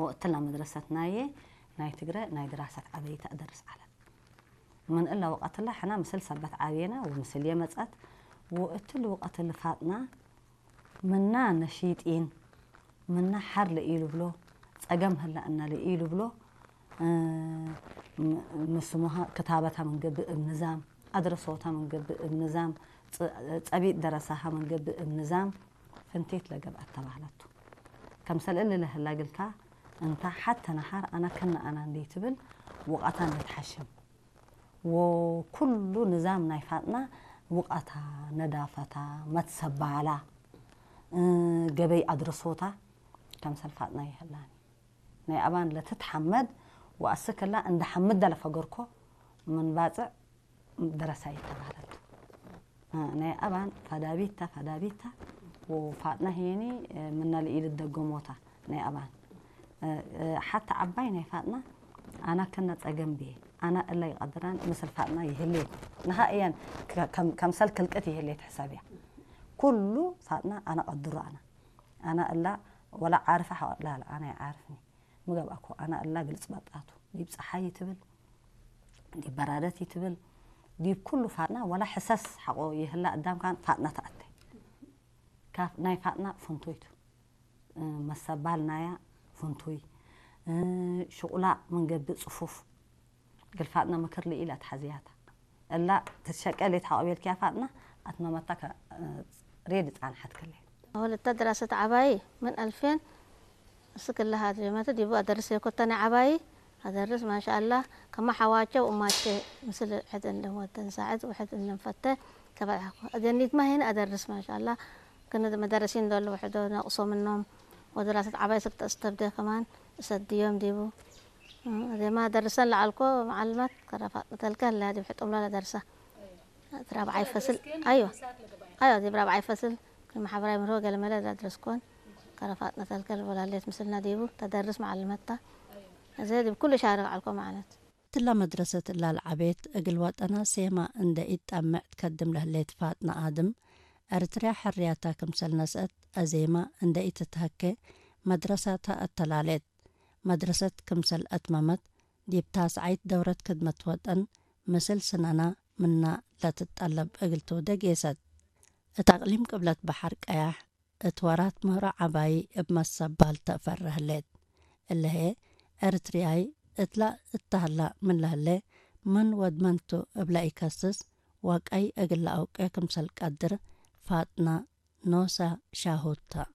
ወእትላ መድረሰት ናየ ናይ ትግረ ናይ ድራሰት ዓበይቲ ኣደርስ ዓለት። ምን እላ ወቐትላ ሕና ምስል ሰበት ዓብየና ወምስል የመጸት ወእትል ወቐትል ፋጥና ምና ነሺጢን ምና ሓር ለኢሉ ብሎ ጸገም ህላ እና ለኢሉ ብሎ ምስሙሃ ክታበታ መንገብእ እብ ንዛም ኣድረሶታ መንገብእ እብ ንዛም ጸቢጥ ደረሳሃ መንገብእ እብ ንዛም ፍንቴት ለገብኣት ተባህለቱ። ከምሰል እሊ ለህላ ግልካ እንታ ሓተ ነሃር ኣና ከነ ኣና እንዴ ትብል ውቓታ እንዴ ትሓሽም ወኩሉ ንዛም ናይ ፋጥና ውቓታ ነዳፈታ መትሰባላ ገበይ ኣድረሶታ ከምሰል ፋጥና ይህላኒ ናይ ኣባን ለትትሓመድ ወኣስክላ እንደ ሓምድ ለፈገርኮ ምን ባጽዕ ደረሳ ይተባህለት። ናይ ኣባን ፋዳቢታ ፋዳቢታ ወፋጥና ሄኒ ምና ለኢል ደገሞታ ናይ ኣባን ሓታ ዓባይ ናይ ፋጥና ኣና ከነ ጸገም ብየ ኣና እላ ይቐድራን ምስል ፋጥና ይህሌት ንሃ እያን ከምሰል ክልቅት ይህሌት ሕሳብ እያ። ኩሉ ፋጥና ኣና ቀድሮ ኣና ኣና እላ ወላ ዓርፈ ሓወላ ኣና ይዓርፍኒ ምገብኣኮ ኣና እላ ግልጽ በጣቱ ዲብ ጸሓይ ትብል ዲብ በራደት ይትብል ዲብ ኩሉ ፋጥና ወላ ሕሰስ ሓቆ ይህላ እዳም ካን ፋጥና ተኣተ ካብ ናይ ፋጥና ፍንቶይቱ መሰባል ናያ ፍንቶይ ሽቁላ መንገብእ ጽፉፍ ግልፋጥና ምክር ልኢላ ትሓዝያታ እላ ትሸቀል የትሓቆቤልክያ ፋጥና ኣትመመታ ሬድ ጻንሓት ክለ ወለታ ድራሰት ዓባይ ምን ኣልፌን እስክላ ሃድሪመት ዲቡ ኣደርስ የኮተነ ዓባይ ኣደርስ ማሻኣላ ከማ ሓዋቸው እማቸ ምስል ሕድ እንደም ወተን ሳዕድ ውሕድ እንደም ፈተ ተበልሓኩ ኣደኒት ማሄን ኣደርስ ማሻኣላ ክነ መደረሲን ደሎ ውሕዶ ነቅሶ ምኖም ወድራሰት ዓባይ ስክተ እስተብደ ከማን እሰድዮም ዲቡ ዜማ ደርሰን ለዓልኮ መዓልማት ከረፋ ተልከ ላ ዲብ ሕጡም ላ ደርሳ ራብዓይ ፈስል ኣዮ ኣዮ ዲብ ራብዓይ ፈስል ማሕበራዊ ምርሆ ገለመለ ዳድረስኮን ከረፋጥነ ተልከል ወላሌት ምስልና ዲቡ ተደርስ መዓልመታ እዚ ዲብ ኩሉ ሻርክ ዓልኮ ማለት ትላ መድረሰት እላ ለዓቤት እግል ወጠና ሴማ እንደ ኢትጠምዕ ትከድም ለህሌት ፋጥና ኣድም፣ ኤርትርያ ሕርያታ ክምሰል ነስአት ኣዜማ እንደ ኢትትሀኬ መድረሳታ ኣተላሌት። መድረሰት ክምሰል ኣትመመት፣ ዲብ ታስዓይት ደውረት ክድመት ወጠን ምስል ስነና ምና ለትጠለብ እግል ትውደ ጌሰት። እት ኣቅሊም ቅብለት በሐር ቀያሕ፣ እት ወራት ምህሮ ዐባዪ እብ መሰባል ተአፈረ ህሌት። እለ ህዬ፣ ኤርትርያይ እትላ እተህላ ምን ለህሌ፣ ምን ወድ መን ቱ እብ ለኢከስስ፣ ወቀይ እግል ለአውቄ ክምሰል ቀድር ፋጥና ኖሰ ሻሁድ ተ።